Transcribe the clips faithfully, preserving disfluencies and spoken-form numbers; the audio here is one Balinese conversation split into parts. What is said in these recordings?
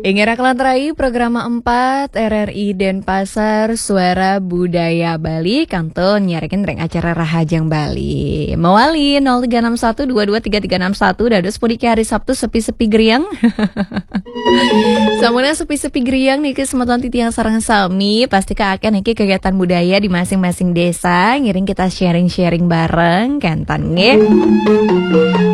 Inggih, Raka lan Rai, program empat R R I Denpasar, Suara Budaya Bali, kantun nyiarkeun ring acara Rahajeng Bali. Mawali nol tiga enam satu dua dua tiga tiga enam satu, dados puniki hari Sabtu sepi-sepi griang. Sampun sepi-sepi griang niki semeton titiang sareng sami, pasti ka akeh niki kegiatan budaya di masing-masing desa, ngiring kita sharing-sharing bareng, kenten nggih.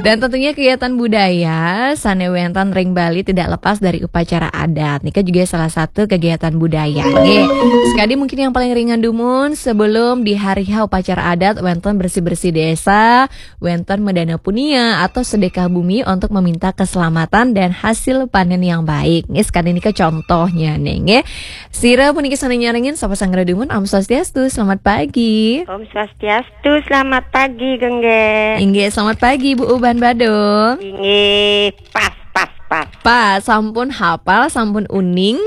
Dan tentunya kegiatan budaya sane wenten ring Bali tidak lepas dari upacara adat. Nika juga salah satu kegiatan budaya. Nggih. Sekali mungkin yang paling ringan dumun, sebelum di hari H upacara adat wenten bersih-bersih desa, wenten medana punia atau sedekah bumi untuk meminta keselamatan dan hasil panen yang baik. Nggih, sekali nika contohnya nih, nggih. Sira puniki sane nyarengin, sapa sang dumun, Om Swastiastu, selamat pagi. Om Swastiastu, selamat pagi, Gengge. Inggih, selamat pagi, Bu Uban Badung. Inggih, pas, pas, pas. Pas, sampun hapal, sampun uning.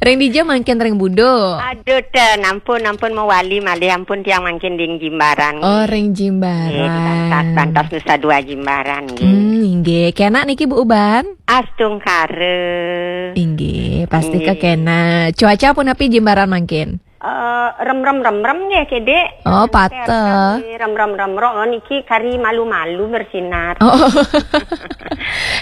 Ring dija mangkin, ring Budo? Aduh, ten, ampun, ampun, mawali malih, ampun, tiang mangkin ring Jimbaran. Oh, ring Jimbaran. Nggih, di Bantas, Bantas Nusa Dua Jimbaran, nggih. Hmm, inggih. Kenak niki, Bu Uban? Astungkara. Inggih, pasti nggih. Kekena. Cuaca punapi Jimbaran mangkin? Eh, rem, rem, rem, rem nggih, Kede. Oh, pateh. Rem, rem, rem, rem, oh, niki kari malu-malu bersinar. Oh.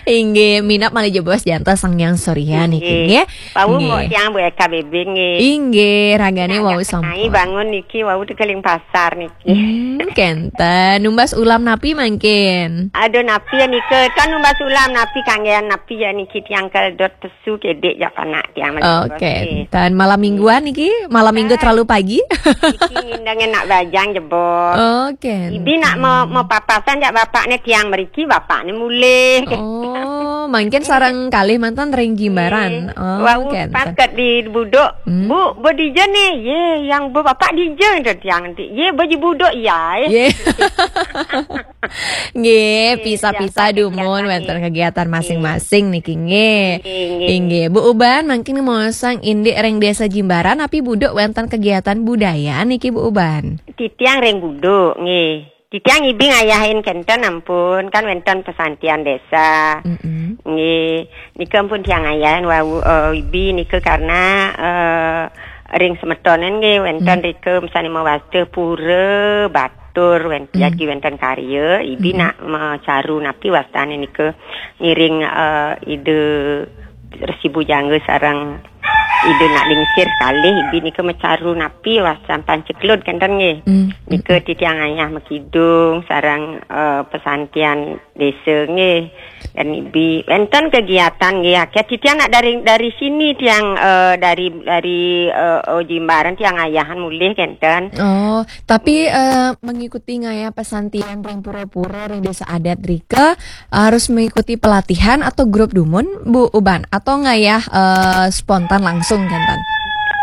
Inggih, minab malih jebos jantos Sang Hyang Surya niki, nggih. Wau nggih. Tiang Bu Eka Bebing, nggih. Inggih, ragane wau sampun. Bangun niki, wau tekeling pasar niki. Hmm, kenten. Numbas ulam napi mangkin? Aduh, napi ya nika? Kan numbas ulam napi, kanggean napi ya niki, tiang keledot pesu, Kede, jak panak tiang malih jebos, nggih. Oh, kenten. Malam mingguan niki? Malam minggu terlalu pagi? Niki ngindenge nak bajang jebos. Oh, kenten. Ibi nak mau, mau papasan jak bapakne tiang mriki, bapakne mulih. Oh, mangkin sareng kalih manten ring Jimbaran. Nggih. Oh, wau kenten. Pas ket di Budo. Hmm. "Bu, Bu dija nih?" "Ye, yang Bu bapak dija," kata tiang nanti. "Ye, Bu di Budo, ya." Ye. Nggih, nggih, pisa-pisa biasa dumun kegiatan, wenten nggih. Kegiatan masing-masing niki, nggih. Nggih, nggih. Inggih, Bu Uban, mangkin mosang indik ring Desa Jimbaran, napi Budo wenten kegiatan budaya niki, Bu Uban? Titiang ring Budo, nggih. Titiang ibi ngayahin kenten ampun, kan wenten pesantian desa. Mm-mm. Nggih, nika ampun tiang ngayahin wau, eh, ibi nika karena, eh, ring semetonen nggih wenten rika misalnya mawasta pura batur wen-, jagi wenten karya, ibi nak macaru napi wastane nika ngiring, eh, Ida Resi Bujangga sareng Ida Nak Lingsir kalih, ibi nika macaru napi wastan panceklud kenten nggih. Mm. Nika titiang ayah makidung sareng, eh, pesantian desa nggih. Dan ibi wenten kegiatan nggih akeh. Titiang nak dari, dari sini tiang, eh, dari, dari, eh, oh, Jimbaran tiang ayahan mulih kenten. Oh, tapi, eh, mengikuti ngayah pesantian ring pura-pura ring desa adat rika harus mengikuti pelatihan atau grup dumun, Bu Uban, atau ngayah, eh, spontan langsung kenten?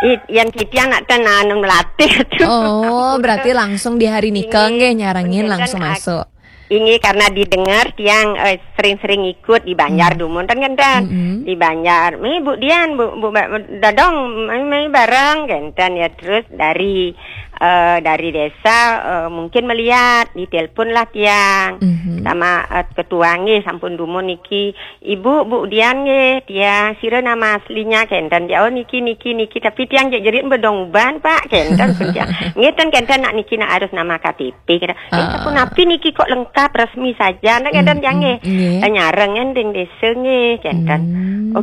It, yang titiang nak tenan melatih tu. Oh, berarti langsung di hari nika nggih nyarengin langsung masuk. Inggih, karena didengar tiang, eh, sering-sering ikut di Banjar dumun, kan, kan, kan? Mm-mm. Di Banjar, "Mi, Bu Dian, Bu, Bu Ba-, Dadong, mai, mai bareng," kenten ya. Terus dari, eh, dari desa, eh, mungkin melihat, ditelepon lah tiang. Mhm. Sama, eh, ketua nggih, sampun dumun niki, "Ibu, Bu Dian nggih, tiang, sira nama aslinya?" kenten. "Oh, niki, niki, niki." "Tapi tiang jejerit Badung Uban, Pak," kenten pun tiang. "Nggih, ten kenten nak niki nak harus nama K T P." Kira, "Eh, sapunapi niki kok lengkap, resmi saja?" Nah, kenten tiang nggih. Nggih. Eh, nyareng ring desa nggih, kenten. Hmm.